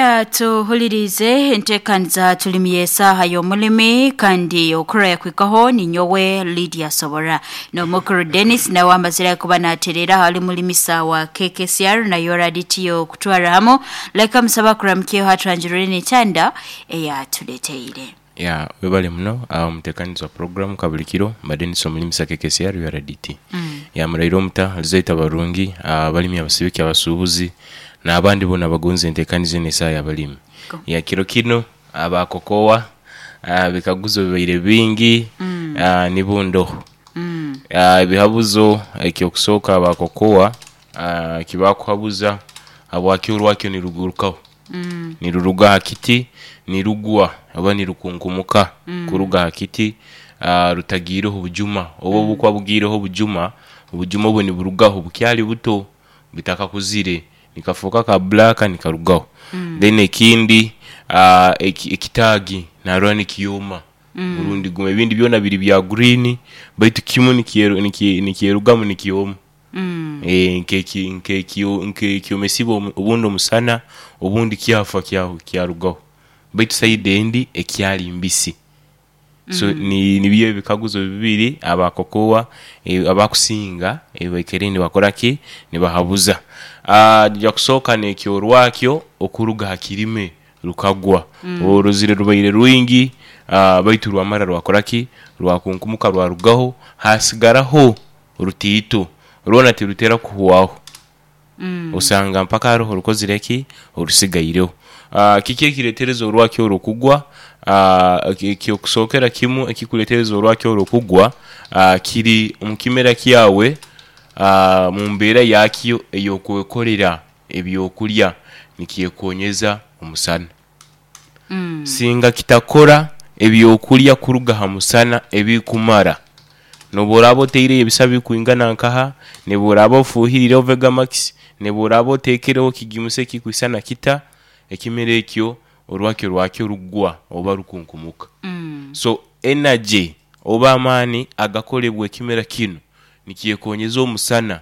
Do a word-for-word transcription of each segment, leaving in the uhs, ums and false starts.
Kara tuhulirize entekaniza tulimi esaha y'omulimi kandi okura yakwikaho ni nyowe Lydia Sobora n'omukuru Dennis nawe amazire kuba naterera hali mulimisa wa K K C R na yora D T O kutwara hamo leka musaba kuramkiyo hatranjirire n'ekyanda eyatuleteire. Ya webale muno omutekanizi wa program kabulikiro Dennis omulimisa K K C R U R D T. Mm. Ya murairo omuta alizaita barungi abalimi abasibiki abasuubuzi n'abandi bona bagonze entekanizi n'esaha y'abalimi. Ya kiro kino abakokowa bikaguzo bibaire bingi mm. nibundoho. Mm. Ebihabuzo ekyokusooka abakokowa kibakuhabuza habwaki orwakyo nirugurukaho. Mm. Niruruga ha kiti nirugwa oba nirukunkumuka mm. kuruga ha kiti rutagiireho obujuma oba obukwa bugiireho obujuma obujuma obwo niburugaho bukyali buto bitakakuzire nikafuuka ka black nikarugaho. Mm. Then ekindi uh, ekitaagi narora nikiyoma mm. Orundi guma ebindi byona biri bya green baitu kimu nikyerugamu nikiyoma. Mm. E, nkeki nkeki nkekyomesibwa obundi omusana obundi kyafa kyarugaho baitu saidi endi ekyali mbisi. So Mm. ni nibyo ebikaguzo bibiri abakokowa e, abakusinga ebaikere nibakora ki nibahabuza. Ah uh, kusooka nekyorwakyo okuruga hakirime rukagwa. Mm. Oruzire rubaire rwingi uh, baitu rwamara rwakora ki rwakunkumuka rwarugaho hasigaraho rutiito rwona tirutera kuhwaho. Mm. Osanga mpaka haroho rukozire ki orusigaireho. Uh, kiki ekiretereza orwakyo orukugwa uh, ekyokusookera kimu ekikuletereza orwakyo orukugwa uh, kiri omu kimera kyawe uh, mu mbeera yakyo ey'okwekolera ebyokulya nikyekonyeza omusana. Mm. Singa kitakora ebyokulya kuruga ha musana ebikumara nobu oraaba oteireyo ebisa bikwingana nkaha, nobu oraaba ofuhirireho Vegamax, nobu oraaba oteekereho kigimusa ekikwisana kita, ekimera ekyo orwakyo rwakyo rugwa oba rukunkumuka. Mm. So energy oba amaani agakolebwa ekimera kinu nikyekonyeza omusana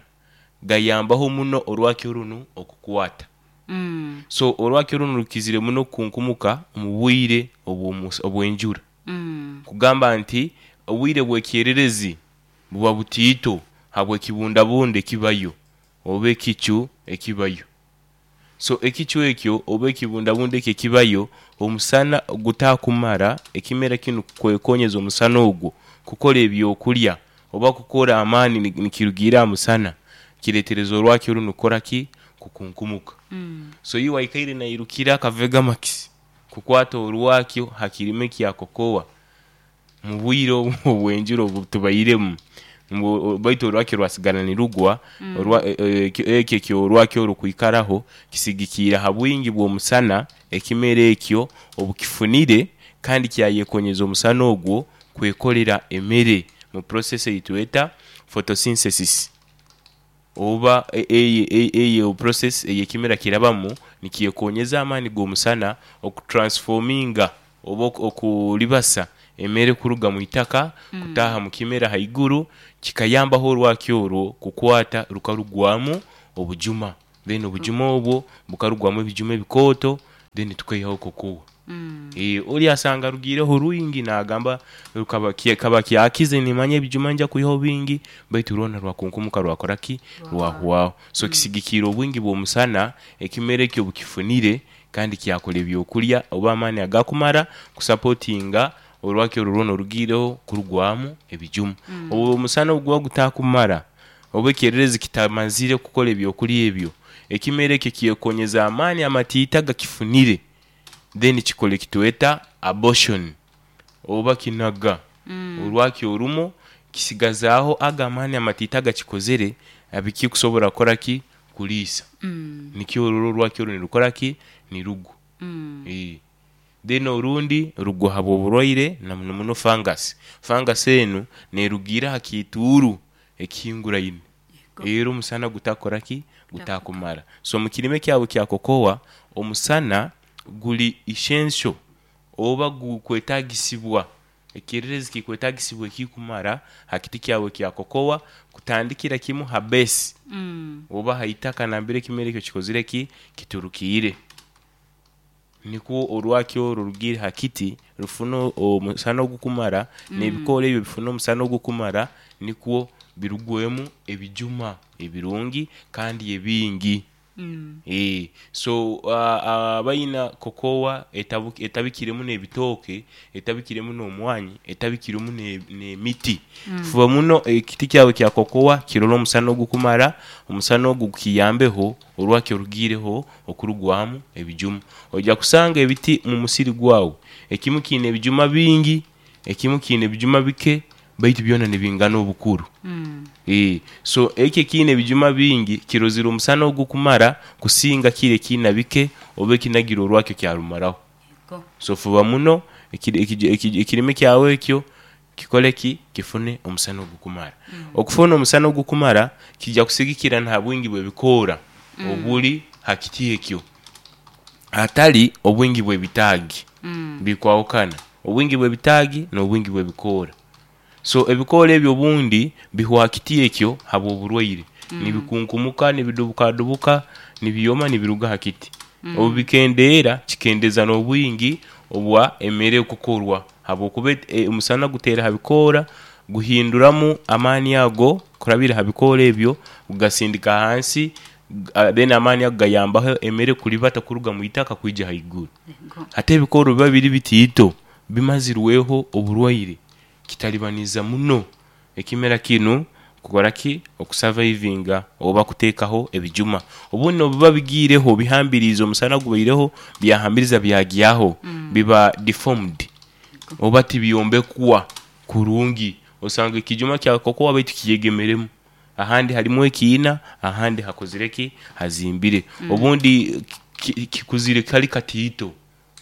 gayambaho muno orwakyo runu okukwata. Mm. So orwakyo runu rukizire muno kukunkumuka omu bwire obw'enjura. Mm. Kugamba nti obwire bw'ekyererezi buba butiito habw'ekibundabunda ekibayo oba ekicu ekibayo. So ekicu ekyo oba ekibundabunda ekyo ekibayo omusana gutakumara ekimera kinu kwekonyeza omusana ogwo kukora ebyokulya oba kukora amaani nikirugiira ha musana kiretereza orwakyo runu kukora ki kukunkumuka. Mm. So iwe aikaire nairukira aka Vegamax kukwata orwakyo ha kirime kya kokowa mu bwire obw'enjura obu tubairemu baitu orwakyo rwasigara nirugwa ekyo ekyorwakyo orukwikaraho kisigikiira ha bwingi bw'omusana ekimera ekyo obukifunire kandi kyayekonyeza omusana ogwo kwekolera emere mu process eyitweta photosynthesis oba eyo process ey'ekimera kirabamu nikyekonyeza amaani g'omusana okutransforminga oba okulibasa emere kuruga mu itaka Mm. kutaaha mu kimera haiguru kikayambaho orwakyo orwo kukwata rukarugwamu obujuma then obujuma obwo bukarugwamu ebijuma ebikooto then tukaihaho kokowa. Mm. E, oli asanga rugiireho rwingi naagamba rukaba kaba kyakize nimanya ebijuma nja kwihaho bingi baitu rwona rwakunkumuka rwakora ki rwahwaho. So Mm. kisigikiira obwingi bw'omusana ekimera ekyo bukifunire kandi kyakora ebyokulya oba amaani agakumara kusapotinga orwakyo rwona orugiireho kurugwamu ebijuma. Mm. Obu omusana obu guba gutakumara oba ekyererezi kitamazire kukora ebyokulya ebyo ekimera ekyo kyekonyeza amaani amatiito agakifunire then kikora ekitweta abortion oba kinaga Mm. orwakyo orumu kisigazaaho ago amaani amatiito agakikozere abikikusobora kukora ki kuliisa. Mm. Nikyo orora orwakyo oru nirukora ki nirugwa. Mm. E. Then orundi rugwa habw'oburwaire na muno muno fungus. Fungus enu neerugiira ha kiituuru ekihinguraine era omusana gutakora ki gutakumara. So mu kirime kyawe kya kokowa omusana guli essential oba gukwetaagisibwa ekyererezi kikwetaagisibwa ekikumara ha kiti kyawe kya kokowa kutandikira kimu ha base Mm. oba ha itaka nambere ekimera ekyo kikozire ki kiturukiire. Nikwo orwakyo orwo rugire ha kiti rufuna omusana ogukumara, n'ebikoora ebyo bifuna omusana ogukumara, nikwo birugwemu ebijuma ebirungi kandi ebingi. Mm. Eh, so uh, abaina kokowa etabu, etabikiremu n'ebitooke, etabikiremu n'omwanyi, etabikiremu ne- n'emiti. Mm. Fuba muno ekiti kyawe kya kokowa kirole omusana ogukumara, omusana ogu gukiyambeho orwakyo rugiireho okurugwamu ebijuma. Oija kusanga ebiti mu musiri gwawe ekimu kiine ebijuma bingi, ekimu kiine ebijuma bike, baitu byona nibingana obukuru. Mm. Ee, so eki ekiine ebijuma bingi kirozire omusana ogukumara kusinga kiri ekiina bike oba ekinagire orwakyo kyarumaraho. Yego. So fuba muno ekiri- ekiji- ekiji- ekirime kyawe ekyo kikole ki? Kifune omusana ogukumara. Mm. Okufuna omusana ogukumara kijja kusigikira na ha bwingi bw'ebikoora Mm. obuli ha kiti ekyo, hatali obwingi bw'ebitaagi. Mm. Bikwahukana, obwingi bw'ebitaagi n'obwingi bw'ebikoora. So ebikoora ebyo obundi bihwa ha kiti ekyo habw'oburwaire, Mm. nibikunkumuka, nibidubukadubuka, nibyoma nibiruga ha kiti. Obu Mm. bikendeera, kikendeza n'obwingi obwa emere ekukorwa habwokuba e- omusana guteera ha bikoora guhinduramu amaani ago kurabira ha bikoora ebyo gugasindika hansi, uh, then amaani ago gayambaho emere kulibata kuruga mwitaka kwija haiguru. Yego. Hati ebikoora obu biba biri bitiito bimazirweho oburwaire, kitalibaniza muno ekimera kinu kukora ki? Okusavaivinga oba kuteekaho ebijuma. Obundi n'obu biba bigiireho bihambiriize, omusana gubaireho byahambiriza byagyaho, Mm. biba deformed Yego. oba tibyombekwa kurungi. Osanga ekijuma kya kokowa baitu kiyegemeremu, ahandi harimu ekiina, ahandi hakozire ki? Hazimbire. Mm. Obundi ki- kikuzire kali katiito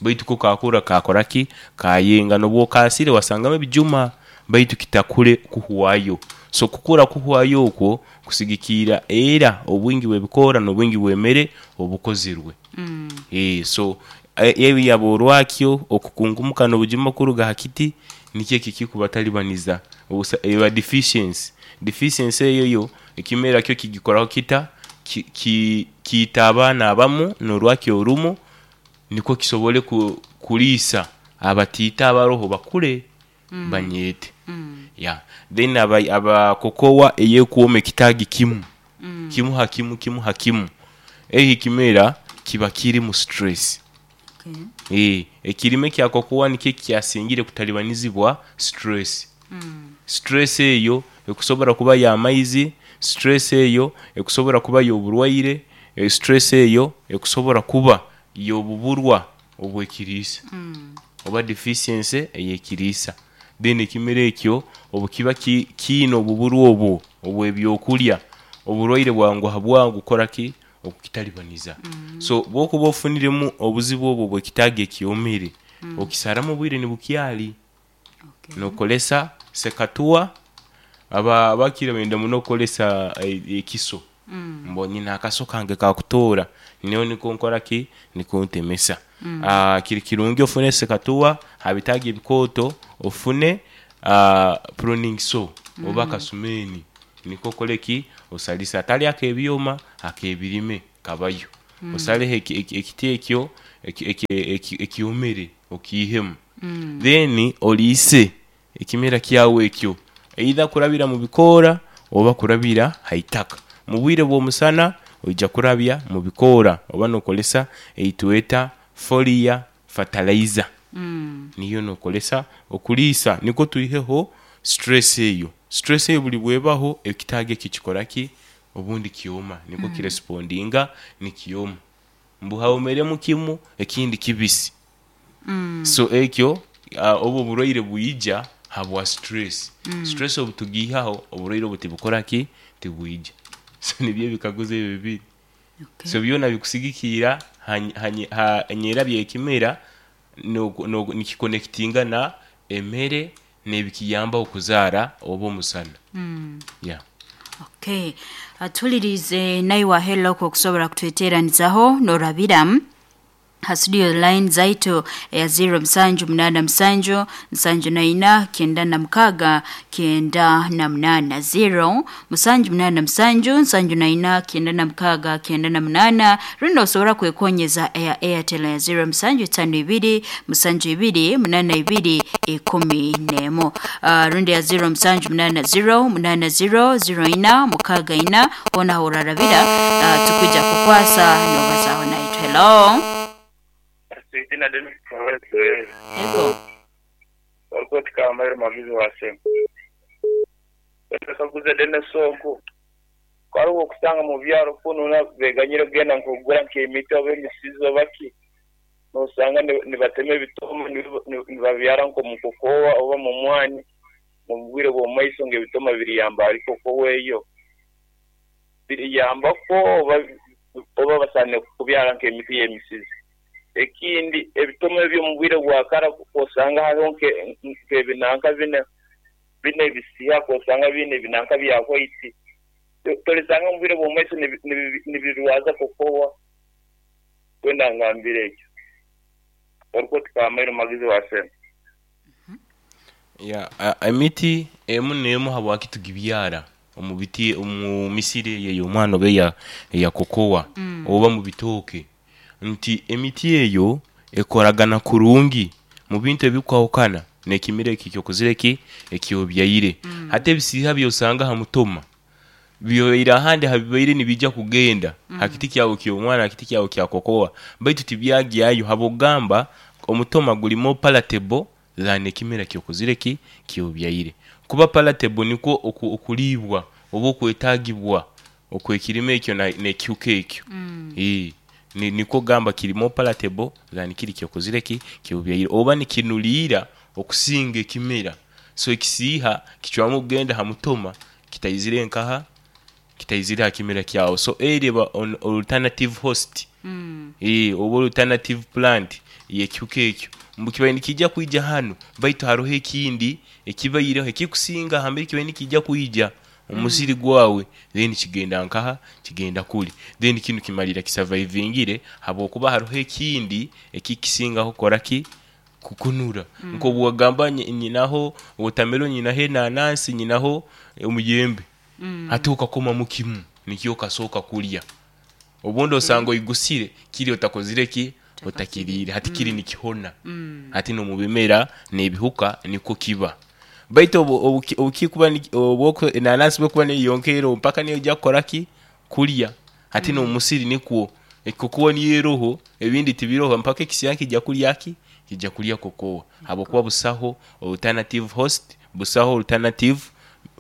baitu ko kakura kakora ki? Kayenga, n'obu okaasire wasangamu ebijuma baitu kitakure kuhwayo. So kukura kuhwayo okwo kusigikiira era obwingi bw'ebikoora n'obwingi bw'emere obukozirwe. Mm. Ee, so e- ebi yaba orwakyo okukunkumuka n'obujuma kuruga ha kiti nikyo eki ekikubatalibaniza obusa eba deficiency. Deficiency eyo yo ekimera kyo kigikoraho kita? Ki- ki- kiita abaana abamu n'orwakyo orumu nikwo kisobole ku, kuliisa abatiito abaroho bakure Mm. banyeete. Mm. Yeah. Then aba, aba kokowa eyekwoma ekitaagi kimu, Mm. kimu ha kimu, kimu ha kimu, eki ekimera kiba kirimu stress. Okay. Ee, ekirime kya kokowa nikyo kyasingire kutalibanizibwa stress. Mm. Stress eyo ekusobora kuba y'amaizi, stress eyo ekusobora kuba y'oburwaire, e, stress eyo ekusobora kuba y'obuburwa obw'ekiriisa Mm. oba deficiency ey'ekiriisa. Then ekimera ekyo obu kiba ki, kiine obuburwa obwo obw'ebyokulya, oburwaire bwanguha bwangu kukora ki? Okukitalibaniza. Mm. So bw'okuba ofuniremu obuzibu obwo obw'ekitaagi ekyomere, Mm. okisaramu obwire nibukyali, Okay. nookolesa sekatuwa. Aba abakira benda muno kukolesa e- ekiso. Mm. Mbu nyina akaso kange kakutoora, nyowe niko nkora ki? Niko ntemesa. Mm. Ah, kiri kirungi ofune sekatuwa ha bitaagi ebikooto, ofune ah, pruning saw oba Mm. akasumeeni niko okole ki? Osalise, atali ak'ebyoma, ak'ebirime kabayo. Mm. Osaleho eki- eki- ekiti ekyo eki- eki- eki- ekyomere okiihemu. Mm. Then oliise ekimera kyawe ekyo either kurabira mu bikoora oba kurabira ha itaka. Mu bwire bw'omusana oija kurabya mu bikoora oba nookolesa eitweta folia fertilizer, Mm. niyo nookolesa okuliisa nikwo twiheho stress eyo. Stress eyo buli bw'ebaho ekitaagi eki kikora ki? Obundi kyoma, nikwo Mm. kirespondinga nikyoma. Mbu hawomeremu kimu ekindi kibisi. Mm. So ekyo uh, obu oburwaire bwija habwa stress. Mm. Stress obu tugiihaho oburwaire obu tibukora ki? Tibwija. So nibyo ebikaguzo ebyo bibiri. Okay. So byona bikusigikiira ha, ha, ha nyerabya ekimera n'oku- n'oku- nikikonekitinga na emere n'ebikiyambaho kuzaara oba omusana. Mm. Yeah. Okay. Atulirize naye wahella okwo okusobola kutweteranizaho norabira Ha studio line zaitu ya zero msanju mnana msanju msanju na ina kenda na mkaga kenda na mnana zero msanju mnana msanju msanju na ina kenda na mkaga kenda na mnana. Rundo osobora kwekonyeza ya Airtel ya zero msanju tano ibiri msanju ibiri mnana ibiri ikumi nemo. Uh, rundo ya zero msanju mnana zero mnana zero zero ina mukaga ina hona horarabira uh, tukuja kukwasa nobazaho na hello. Jina Dennis Kawese. Ego. Walikuwa tukaambaye mavizi wasema. Kaguze Dennis Sonko. Kwari okusanga mu byaro kuno na beganyire kugenda nkugura nk'emiti oba emisizo baki. Nosanga nibatema ebitoma nibabyara nko mu kokowa oba mu mwani mu bwire bw'omaiso ng'ebitoma biriyamba ariko kokowa eyo. Biriyamba ko oba oba basane kubyara nk'emiti y'emisizo. Ekindi ebitoma ebyo mu bwire bwa kara osanga hariho nk'ebinanka bine bine bisiha osanga bine binanka bya white tolisanga mu bwire bw'omaiso nibirwaza kokowa kwenda ngambire ekyo oriko tukamairu magizi wasema ya emiti emu nemu habwaki tugibyara omu biti omu misiri yeyo omwana oba ya ya kokowa mm. oba mu bitooke nti emiti eyo ekoragana kurungi mu bintu ebikwahukana nekimire ekyo kuzireki ekyobyayire mm. hate ebisiha byosanga ha mutoma byoira hande habibaire nibijja kugenda mm. hakiti kyawo kyo mwana hakiti kyawo kya kokowa baitu tibyagyayo habogamba omutoma guli more palatable than ekimera kyo kuzireki kyobyayire kuba palatable niko okulibwa oba okwetagibwa okwekirime ekyo nekyuka ekyo mm. eh ni niko gamba kiri more palatable than kiri kyokozireki kyobyayire oba nikinulira okusinga ekimera so ekisiha kichwamu kugenda ha mutoma kitayizire nkaha kitayizire hakimera kyawo so ereba on alternative host mm. eh oba alternative plant yekyuka ekyo mbukibaye nikijja kuija hano baitu haroho ekindi ekibayireho ekikusinga hambere kibaye nikijja kuija omusiri gwawe then kigenda nkaha kigenda kuli then kinu kimalira kisurvivingire habokuba haroho ekindi ekikisingaho koraki kukunura mm. nko bwagamba nyinaho watermelon nyinaho nanasi nyinaho omuyembe mm. hatuka koma mukimu nikyo kasoka kulya obundi osanga oyigusire kiri otakozire ki otakirire hati kiri mm. nikihona mm. hati no mubimera nebihuka niko kiba baitu obukikuba obwoko nanasi bwokuba neyonkero mpaka niyo jya koraki kulya hati mm. no musiri nikuo ekokuwa niyeroho ebindi tibiroho mpaka ekisiya kijya kulya ki kijya kulya kokowa habokuba busaho alternative host busaho alternative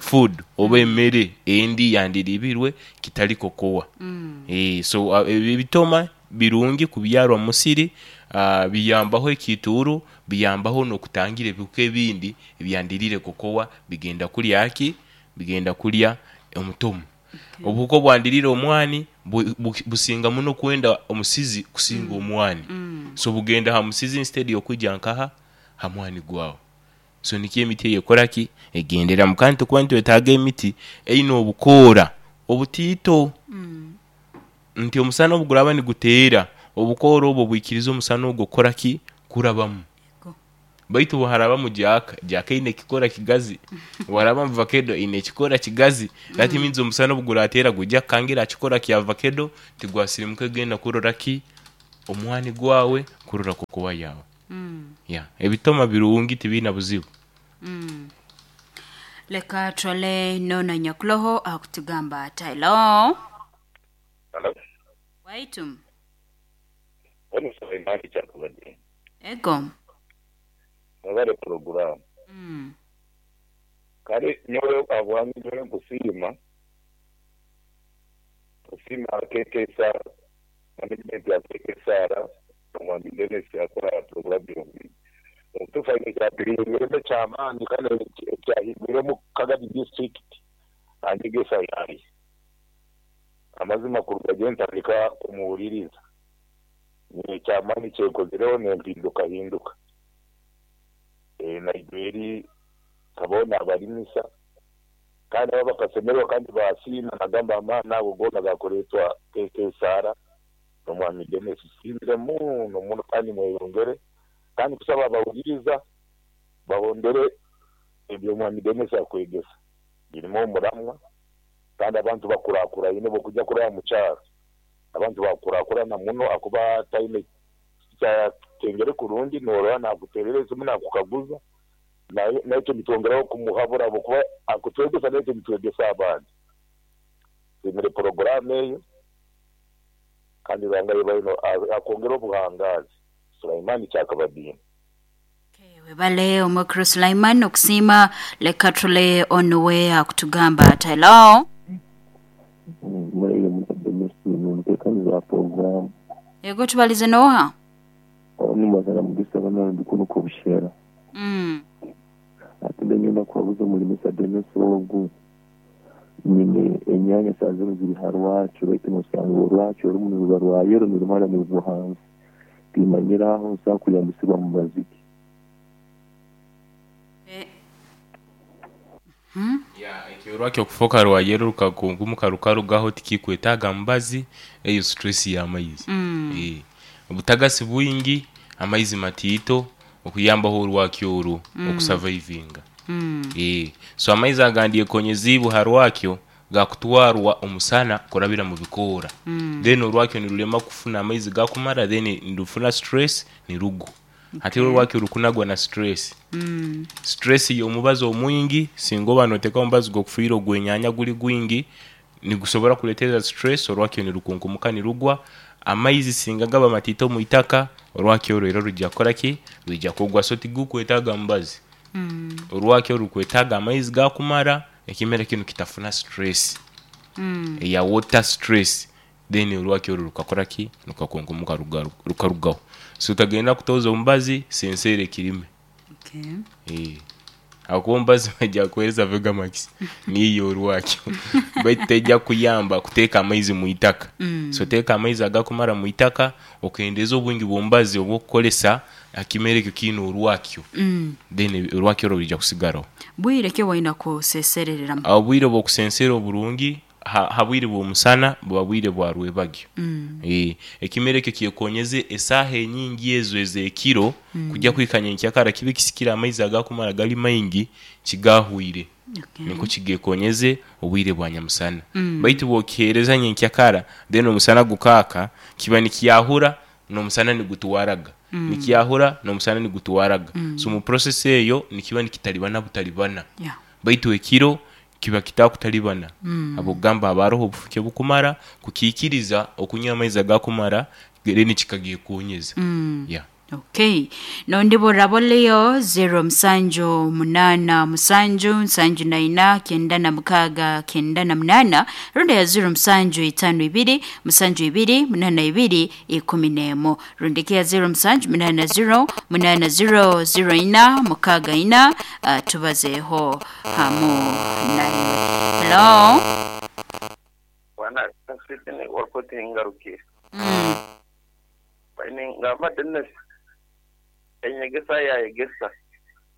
food oba emere endi yandiribirwe kitali kokowa mm. eh so uh, ebitoma birungi kubyarwa musiri uh, biyambaho ekituru biyambaho no kutangira ebihuka ebindi ebyandirire kokowa bigenda kulya aki bigenda kulya omutomo okay. Obuhuko bwandirire omwani bu, bu, businga muno kwenda omusizi kusinga mm. omwani mm. so bugenda ha musizi instead yokuja nkaha ha mwani gwawo so nikiye emiti yekoraki egendera mukantu kuba ntwetaga emiti eino obukora obutito mm. nti omusana obuguraba niguteera obukoro obwo bwikiriza omusana ogwo koraki kurabamu baitu buharaba mu jaka jaka ine kikora kigazi waraba mu vakedo ine kikora kigazi mm. That means omusana obuguratera gujja kangira kikora kya vakedo tigwasirimuka genda kurora ki omwani gwawe kurora kokowa yawe mm. yeah ebitoma birungi tibina buzibu mm. Leka twale nona nyakuloho akutugamba hello. Hello. Waitum. Wani saimani chakubadi. Ego. Mwabare program. Mm. Kare nyowe abwami nyowe kusima. Kusima kekesa management ya kekesara omwami Dennis yakora program yombi. Otufa nkyapirire kyamaani kandi kyahigwire mu Kagadi district anjegesa yayi. Amazima kuruga gye ntandika kumuwuliriza. Ni kyamaani kyekozereho nempinduka hinduka. E, Naiberi kabona abalimisa kandi aba bakasemerwa kandi basiima nagamba amaani ago goona gakureetwa K K Sara Omwami Denis siimire muno muno, kandi mweyongere, kandi kusaba abawuliriza bahondere eby'omwami Denis akwegesa birimu omuramwa, kandi abantu bakurakuraine bokujja kuraba mu kyaro abantu bakurakurana muno, akuba taine kyakengere kurungi norora nakuterera esimu nakukaguza, naitwe nitwongeraho kumuhabura habwokuba akutwegesa naitwe nitwegesa abandi. Tusimire poroguramu eyo, kandi Ruhanga yebaino akwongera obuhangazi. Sulaiman Kyakabadinga. Webale omukuru Sulaiman okusiima. Leka tule onuwe akutugamba ati hello. Mureye mutekaniza program. Yego, tubalize noha? Nimwazana mugisa bana ndikuno kubushera. Mm. Ati ngenda kubabuza mulimisa Denis ogu nyine enyanya saa zino ziri harwakyo, baitu nosanga orwakyo orumu niruba rwayero nirumara nirugwa hansi, timanyira aho nsobola kuyambisibwa mu baziki. Ekyorwakyo okufoka rwayero rukakunkumuka rukarugaho tikikwetaaga mubazi, eyo stress y'amaizi. Mm. Obutagasi bwingi, amaizi matiito okuyambaho orwakyo orwo okusurvivinga. Mm. So amaizi agandi ekonyeziibwe ha rwakyo gakutwarwa omusana kurabira mu bikoora, then orwakyo nirulema kufuna amaizi gakumara, then nirufuna stress nirugwa. Hati orwakyo rukunagwa na stress. Mm. Stress y'omubazi omwingi, singa oba noteekaho omubazi gw'okufuhirra ogw'enyanya guli gwingi, nigusobora kuleetera stress, orwakyo nirukunkumuka nirugwa. Amaizi singa gaba matiito omwitaka, orwakyo orwo era rwija kukoraki? Rwija kugwa. So tigukwetaaga mubazi. Mm. Orwakyo rukwetaaga amaizi gakumara, ekimera kinu kitafuna stress Mm. eya water stress, then orwakyo orwo rukakoraki? Rukakunkumuka rukarugaho. So otagenda kutoza omubazi, senseera ekirime. Okay. Habwokuba omubazi baija kukuheereza Vegamax niiyo orwakyo, baitu tejja kukuyamba kuteeka amaizi mwitaka. Mm. So teeka amaizi agakumara mwitaka, okendeeze obwingi bw'omubazi obw'okukozesa ha kimera ekyo kiine orwakyo, Mm. then orwakyo orwo rwija kusigaraho. Bwire ki obwoine kuseserereramu? Obwire obw'okusensera oburungi ha bwire bw'omusana buba bwire bwa rwebagyo. Mm. Ekimera ekyo kyekonyeze esaaha enyingi ezo ez'ekiro kujya kuhika nyenkyakara kibe kisikire amaizi agakumara gali maingi kigahwire. Okay. Nikwo kigekonyeze obwire bwa nyamusana. Mm. Baitu bw'okiheereza nyenkyakara then omusana gukaaka, kiba nikyahura n'omusana nigutwaraga, nikyahura n'omusana nigutwaraga. So mu process eyo nikiba nikitalibana butalibana. Yeah. Baitu ekiro kiba kitakutalibana, Mm. habw'okugamba haba haroho obufuke bukumara kukiikiriza okunywa amaizi agakumara, then kikagyekonyeza. Mm. Yeah. Okay. Nondi boraboliyo zero musanju munana musanju nsanju na ina kenda na mukaga kenda na munana, rundi ya zero musanju itano ibiri musanju ibiri munana ibiri ikumi n'emu, rundi ki ya zero musanju munana zero munana zero zero ina mukaga ina. uh, tubazeho hamu naiwe. Hello. Bwana sitini wakoti ngarukire. Mm. Baine ngamba Denis enyegesa yayegesa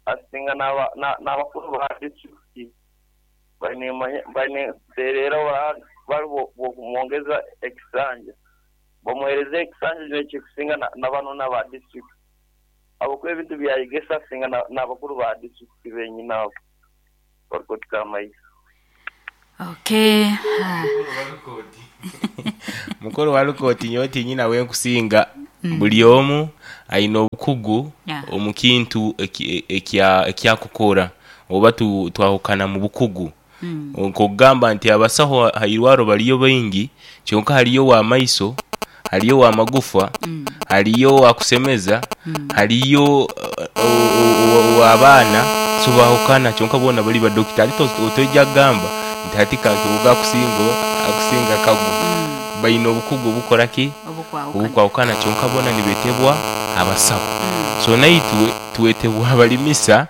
asinga n'abakuru ba district baine baine terera bari bokumwongeza ekisanja, bamuhereze ekisanja nekikusinga n'abano n'aba district, habwokuba ebintu byayegesa asinga n'abakuru ba district benyini abo barikutuka amaizi. Okay. Mukuru wa rukooti nyowe tinyina wenkusinga, buli omu aine obukugu Yeah. omu kintu ekyakukora, oba twahukana mu bukugu. Mm. Nk'okugamba nti abasaho ha irwaro bariyo baingi, kyonka hariyo ow'amaiso, hariyo ow'amagufa, hariyo owakusemeza, hariyo ow'abaana, so bahukana kyonka boona bali badokita. Hati otoija kugamba nti hati Kankibuga akusinga akusinga Kagu. Baine obukugu obukoraki? Obukwahukana. Obukwahukana, kyonka boona nibetebwa abasaho. So naitwe twetebwa abalimisa.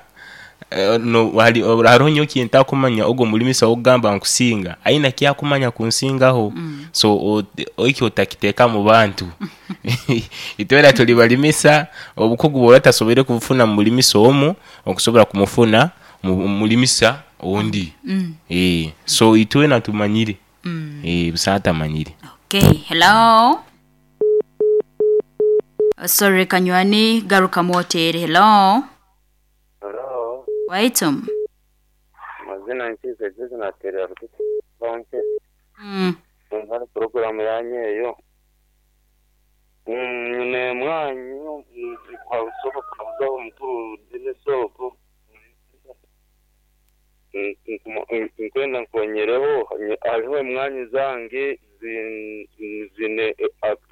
Haroho nyowe kintakumanya, ogu omulimisa ow'okugamba nkusinga aine ekyakumanya kunsingaho. So eki otakiteeka mu bantu. Itwena tuli balimisa, obukugu bw'oba otasoboire kubufuna mu mulimisa omu, okusobora kumufuna mu mulimisa ondi. Mm. So itwena tumanyire, Mm. busaho atamanyire. Okay. Hello. Sorry kanywani garuka mwotere. Hello. Hello. Waitum. Mazina nkize jizi naterera rukiti bonke. Mm. Ngari programu yanye eyo. Nyine mwanyu kwa usoko kwa mukuru dine soko. Nkwenda nkonyereho hariho emwanyi zange zine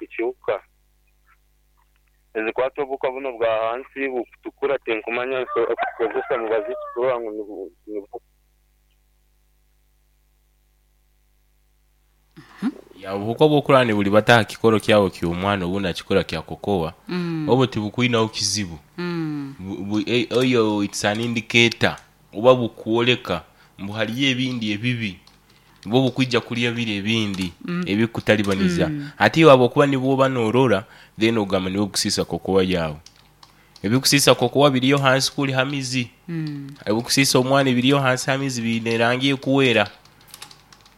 ekihuka ezikwata obuhuka buno bwa hansi butukura tinkumanya kukozesa mubazi kurora ngu Ya obuhuka obwokurani buli bataha kikoro kyawe ky'omwana obundi akikora kya kokowa Mm. obo tibukwinaho kizibu. Mm. Bu- bu- e- oyo it's an indicator oba bukwoleka mbu hariyo ebindi ebibi bwo bukwija kulya biri ebindi mm. ebikutalibaniza mm. Ate waba okuba nibwoba norora then ogamba niwe kusisa kokowa yawe ebikusisa kokowa biriyo hansi kuli hamizi Mm. ebikusisa omwana biriyo hansi hamizi biine erangi ekuwera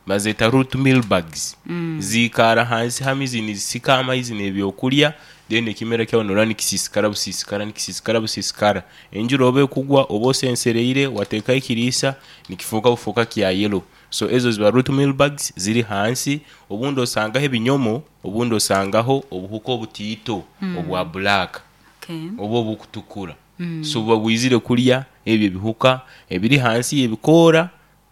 bazeta root meal bags Mm. zikara hansi hamizi nizisika amaizi n'ebyokulya then ekimera kyawe norora nikisisikara busisikara nikisisikara busisikara enjura oba ekugwa oba osensereire wateekaho ekiriisa nikifuuka bufuuka kya yellow. So ezo ziba root meal bags ziri hansi obundi osangaho ebinyomo obundi osangaho obuhuka obutiito mm. obwa black Okay. oba obukutukura mm. So buba bwizire kulya ebyo ebihuka ebiri hansi y'ebikoora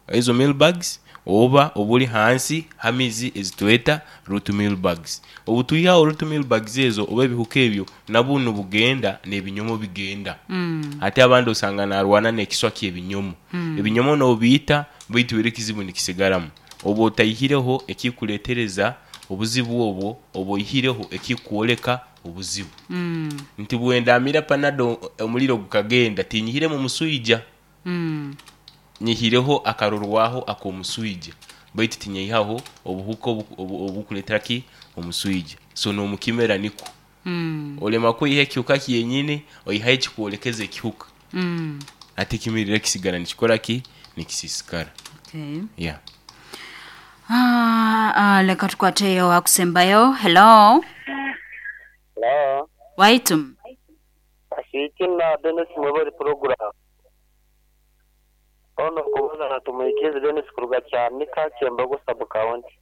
ezo meal bags oba obuli hansi hamizi ezitweta root meal bags. Obutwihaho root meal bags ezo oba ebihuka ebyo nabuno bugenda n'ebinyomo bigenda Mm. ate abandi osanga narwana n'ekiswa ky'ebinyomo mm. Ebinyomo nobiita baitu era ekizibu nikisigaramu oba otayihireho ekikuletereza obuzibu obwo oba oyihireho ekikuoleka obuzibu Mm. nti bwendamira panado omuliro gukagenda tinyihire mu muswija Mm. nyihireho akarorwaho ak'omuswija baitu tinyihaho obuhuka obu- obu- obukuleetera ki omuswija. So n'omukimera niko Mm. olema kwiha ekihuka kyenyini oyihaho ekikwolekeza ekihuka Mm. ate ekimirire kisigara nikikora ki nikisisikara. Okay. Yeah. Ah, ah, leka tukwateyo akusembayo. Hello. Hello. Waitum. Ashikina Dennis Mwebori program. Ono kubuza na tumuikize Dennis kuruga Kyanika Kyembogo sub county.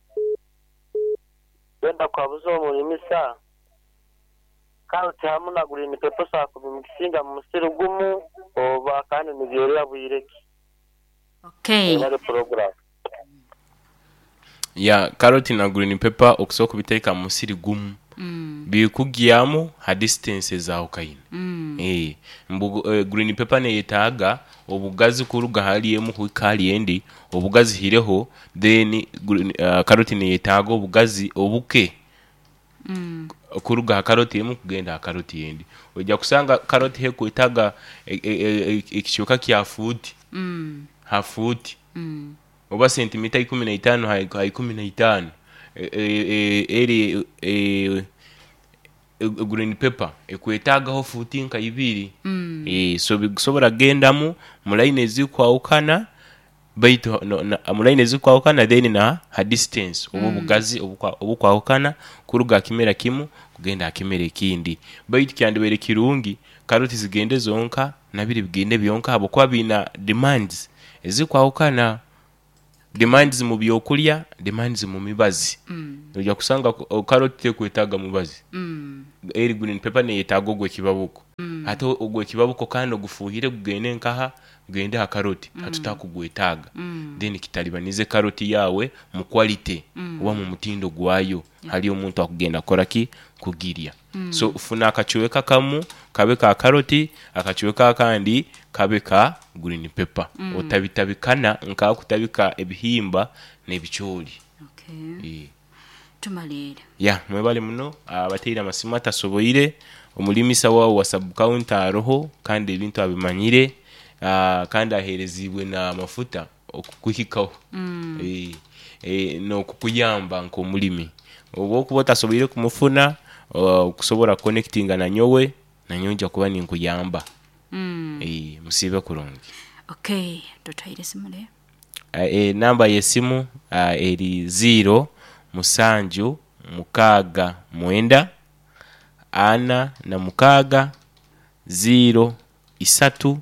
Genda kwabuza omulimisa karoti hamu na green pepper sakubimukisinga mu musiri gumu oba kandi nibyerera bwireki. Okay. Mwebori program. Ya karoti na green pepper okusobola kubiteeka mu musiri gumu Mm. bikugyamu ha distance ezawukaine Mm. Eh, mbu eh, green pepper neyetaaga obugazi kuruga hali emu kuhika hali endi obugazi hireho then green, uh, karoti neyetaaga obugazi obuke Mm. kuruga ha karoti emu kugenda ha karoti endi. Ojja kusanga karoti hekwetaaga ekicweka kya fuuti Mm. ha fuuti Mm. oba sentimita ikumi na itaano ha ha ikumi na itaano E- e- e- eri e- e- green pepper ekwetaagaho fuuti nka ibiri Mm. Eh, so bikusobola kugendamu mu line ezikwawukana baitu no, na, mu line ezikwawukana then na ha distance oba obugazi obukwa- obukwawukana kuruga ha kimera kimu kugenda ha kimera ekindi baitu kyandibaire kirungi karoti zigende zonka nabiri bigende byonka habwokuba biina demands ezikwawukana demands mu byokulya demands mu mibazi Mm. ojja kusanga ko- karoti tekwetaaga mubazi Mm. eri green pepper neyetaaga ogw'ekibabuko ate ogw'ekibabuko kandi ogufuuhire gugende nkaha gugende ha karoti mm. hatutakugwetaaga Mm. then kitalibanize karoti yawe mu quality oba mu mutindo gwayo hali omuntu akugenda kukora ki kugirya mm. So funa akacweka kamu kabe ka karoti akacweka akandi kabe ka green pepper mm. Otabitabikana nkakutabika ebihimba n'ebicooli. Okay. Eh. Tumalire. Ya mwebale muno abateire amasimu atasoboire omulimisa wawe wa sub county aroho kandi ebintu abimanyire ah, kandi aherezibwe n'amafuta okukuhikaho mm. e, e, n'okukuyamba nk'omulimi oba okuba otasoboire kumufuna okusobola connectinga nanyowe nanyowe nja kuba ninkuyamba Mm. e, musiibe kurungi. Okay. Tutwaire esimu le. E, namba y'essimu ah, eri ziro musanju mukaaga mwenda ana na mukaaga ziro isatu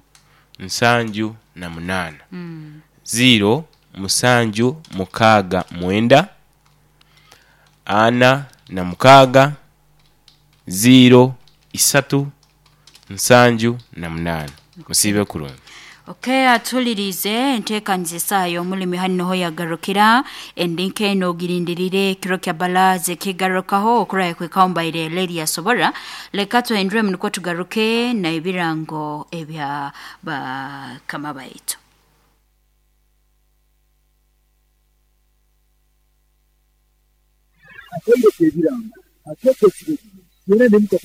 nsanju na munaana Mm. ziro musanju mukaaga mwenda ana na mukaaga ziro isatu nsanju na munaana musiibe kurungi. Okay, atulirize enteekaniza esaaha y'omulimi hano yagarukira endinka eno ogirindirire ekiro kya balaze kigarukaho okuraya kwekawumbaire lady yasobora leka tuhenduremu nukwo tugaruke na ebirango ebya bakama baitu. Akaire kebirango ateeka ekiro yona nemuka.